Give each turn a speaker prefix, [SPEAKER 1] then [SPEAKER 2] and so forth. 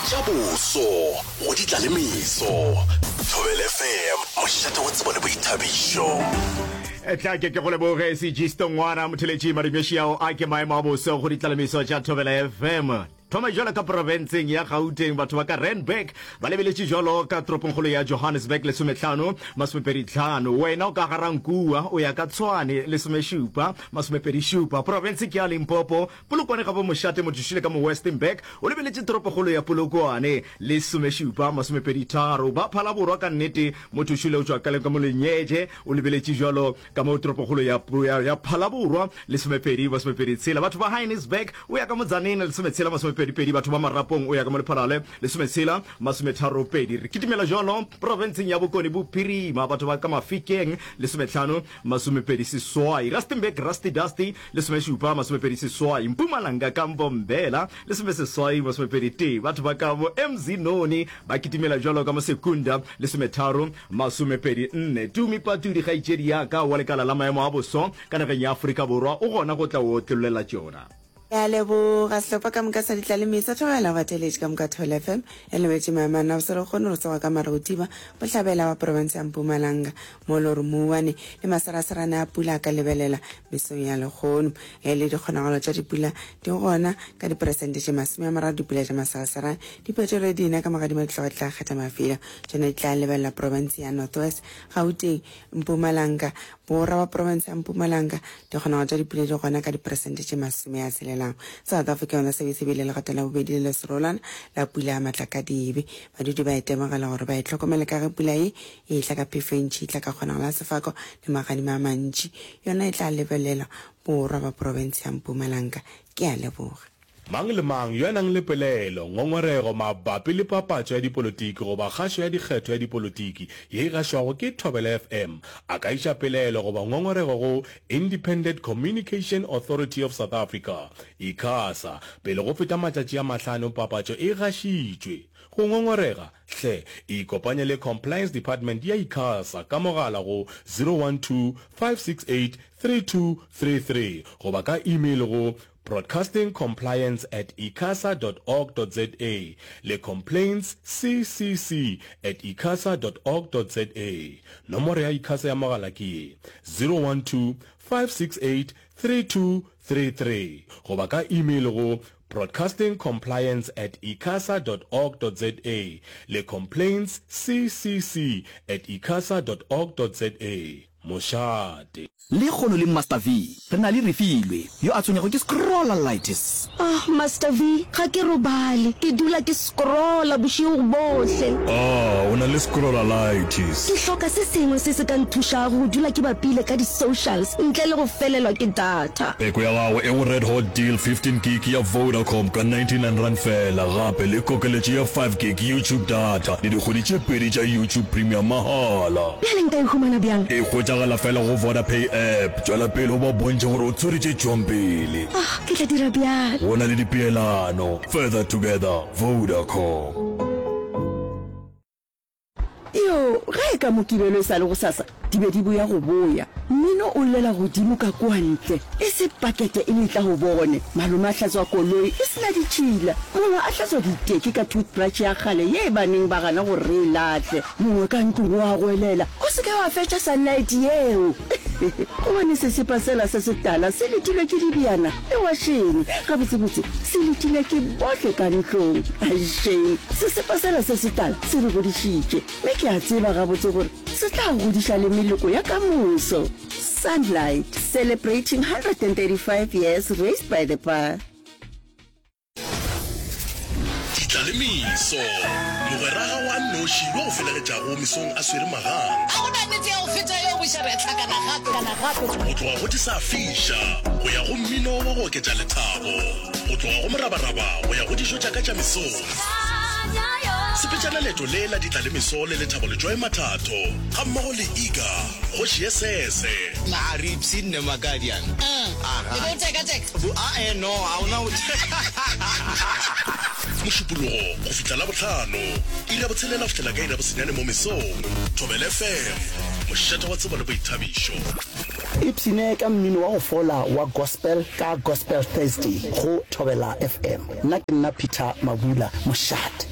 [SPEAKER 1] Tša boso go di tla le meso. Thobela FM, mošate wa tsebo le boithabišo.
[SPEAKER 2] Tla ke ke go leboge Sejisto ngwana motheletši Madumeši ao a ke maemo a boso go ditlalemiso tša Thobela FM. Thoma jwalo ka profenseng ya Gauteng, batho ba ka Randburg ba lebeletše jwalo ka toropongkgolo ya Johannesburg lesomehlano masomepeditlhano. Wena o ka Garankua o ya ka Tshwane lesomešupa masomepedišupa. Profense ke ya Limpopo, Polokwane ga bo mošate motho šile ka mo Westenburg o lebeletše toropokgolo ya Polokwane lesomešupa masomepeditharo. Ba Phalaborwa ka nnete motho šile o tšwa ka ka mo Lenyeje o lebeletše jwalo Ka mo toropokgolo ya, ya, ya Phalaborwa, lesomepedi, masomepedi tshela. Batho ba Heinisberg, o ya ka mo Tzaneen, lesometshela, masomepedi pedi. Batho ba Marapong, o ya ka mo Lephalale, lesometshela, masometharo pedi. Re kitimela jwalo profenseng ya Bokone Bophirima, batho ba ka Mafikeng, lesometlhano, masomepedi seswai. Rustenburg, Rusty Dusty, lesomešupa, masomepedi seswai. Mpumalanga, ka Mbombela, lesomeseswai, masomepedi tee. Batho ba ka mo Emzinoni ba kitimela jwalo ka mo Secunda, lesometharo, Masomepedi nne. Tumi Patudi, kgaetšedi ya ka wa lekala la maemo a boso ka nageng ya Afrika Borwa, o gona go tla o otlollela tšona.
[SPEAKER 3] Ke a leboga sehlopha ka moka sa ditlalemiso. Thobela batheeletši ka moka Thobela FM e lebetše maemo a nabose re kgone go tsoga ka Marutiba, bohlabela wa profense ya Mpumalanga mo le gore mouwane le maseraserane a pula a ka lebelela mesong ya lekgono. Ge le dikgonagalo tša dipula di gona ka diperesente tše 30 dipula tša maseraserane di phetolwe dina ka magadima di tloga di tla kgetha mafelo Tšona di tla lebelela profense ya North West, Gauteng, Mpumalanga, borwa wa profense ya Mpumalanga. Dikgonagalo tša dipula di gona ka diperesente tše masome a tshelelago. South Africa yona se be se bile legato la bobedi le leserolwana la pula ya matlakadibe. Badudi ba itemogela gore ba itlhokomele ka ge pula ye e etla ka phefo e ntši, e tla ka kgonagalo ya sefako le magadima a mantši. Yona e tla lebelelwa borwa ba profense ya Mpumalanga. Ke a leboga.
[SPEAKER 4] Mang le mang yo a nang le pelaelo, ngongorego mabapi le papatšo ya dipolotiki goba kgašo ya dikgetho ya dipolotiki ye e gašwago ke Thobela FM a ka iša pelaelo goba ngongorego go Independent Communication Authority of South Africa, ICASA, pele go feta matšatši a mahlano papatšo e gašitšwe. Go ngongorega, hle ikopanye le Compliance Department ya ICASA ka mogala go 012 568 3233 goba ka email go Broadcasting Compliance at icasa dot org dot za le Complaints CCC at icasa dot org dot za. Nomoro ya ICASA ya mogala ke ye, 012 568 3233 goba ka email go broadcastingcompliance at icasa dot org dot za le Complaints CCC at icasa dot org dot za. Mošate.
[SPEAKER 5] Lekgono le Master V, re na le Refilwe, yo a tshwenyago ke scrollalitis.
[SPEAKER 6] Ah, Master V, ga ke robale. Ke dula ke scrolla bošego bohle.
[SPEAKER 7] Ah, o na le scrollalitis.
[SPEAKER 6] Ke hloka se sengwe se se ka nthušago go dula ke bapile ka di-socials ntle le go felelwa ke data.
[SPEAKER 7] Peko ya gago e go Red Hot Deal 15 gig ya Vodacom ka R99 feela, gape le kokeletšo ya 5 gig YouTube data le dikgwedi tše pedi tša YouTube Premium mahala.
[SPEAKER 6] Bjale nka e humana bjang?
[SPEAKER 7] E hwetšagala feela go Vodapay app. Tšwela pele o ba bontšhe gore o tshwere tše tšwang pele.
[SPEAKER 6] Ah, ke tla dira bjalo.
[SPEAKER 7] Go na le dipeelano. Further together, Vodacom.
[SPEAKER 8] Yoo, ge e ka Mokibelo e sa le gosasa, di be di boya go boya. Mmino o llela godimo ka kua ntle, e se pakete e letla go bone. Malome a hlatswa koloi e se na ditšhila, mongwe a hlatswa diteki ka toothbrush ya kgale ye ba neng ba gana gore re e lahle. Mongwe ka ntlong o a goelela, O se ke wa fetša sunlight yeo! Gobane sesepa sela se setala se letilwe ke dibjana le wašene. Gabotsebotse, se letilwe ke bohle ka ntlong. Ai shame, sesepa sela se setala se re godišitše, mme ke a tseba gabotse gore se tla godiša le meloko ya ka moso. Sunlight, celebrating 135 years raised by the bar.
[SPEAKER 1] Ditla le meso. Mogwera gago a nnoši yo go felegetšago mesong a swere magang.
[SPEAKER 9] Ga go na nnete ya go feta yeo buša re a hlakana gape.
[SPEAKER 1] Go tloga go di sa fiša go ya go mmino wa go oketša lethabo. Go tloga go morabaraba go ya go dijo tša ka tša mesong. Sepetšana leeto le la ditla le meso le Lethabo Letšoe Mathatho gammogo le Iga Kgoši ye Sese.
[SPEAKER 10] Na re ipshinne Makadian?
[SPEAKER 9] Aha. E be o teka-teka?
[SPEAKER 10] Bu, a-e, no, ga o na go.
[SPEAKER 1] Mošupologo go fihla Labohlano, iri ya botshelela go fihlela ka iri ya bosenyane mo mesong. Thobela FM, mošate wa tsebo le boithabišo.
[SPEAKER 11] Ipshine ka mmino wa go fola wa gospel ka Gospel Thursday go Thobela FM. Nna ke nna Peter Mabula, mošate.